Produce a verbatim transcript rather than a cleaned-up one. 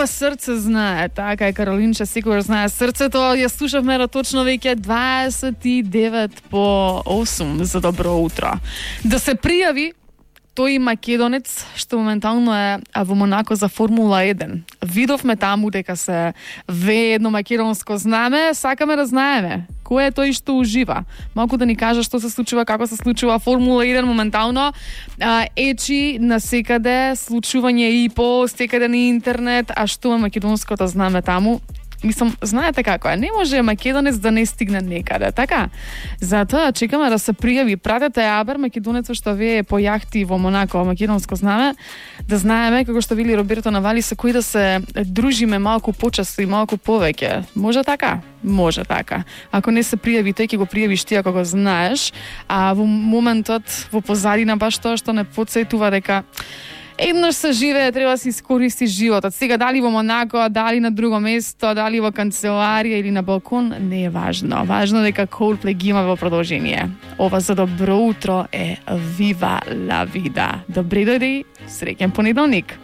Ова срце знае, така е, Каролинче секогаш знае срцето. Ја слушавме точно веќе дваесет и девет по осум за добро утро. Да се пријави тој македонец што моментално е во Монако за Формула еден. Видовме таму дека се вее едно македонско знаме, сакаме да знаеме кој е тој што ужива. Малку да ни кажа што се случува, како се случува Формула еден моментално. А, ечи на секаде, случување и по секаде на интернет, а што е македонското знаме таму? Мислам, знаете како е, не може македонец да не стигне некаде, така? Затоа чекаме да се пријави. Пратете Абер, македонецот што вее по јахти во Монако, македонско знаме, да знаеме, како што вели Роберто Навали, со кои да се дружиме малку почесто и малку повеќе. Може така? Може така. Ако не се пријави, тој ќе го пријавиш ти ако го знаеш, а во моментот, во позадина баш тоа што не потсетува дека еднаш се живее, треба да се искористи животот. Сега дали во Монако, дали на друго место, дали во канцеларија или на балкон, не е важно. Важно дека Coldplay ги има во продолжение. Ова за добро утро е Viva la Vida. Добре дојди, среќен понеделник.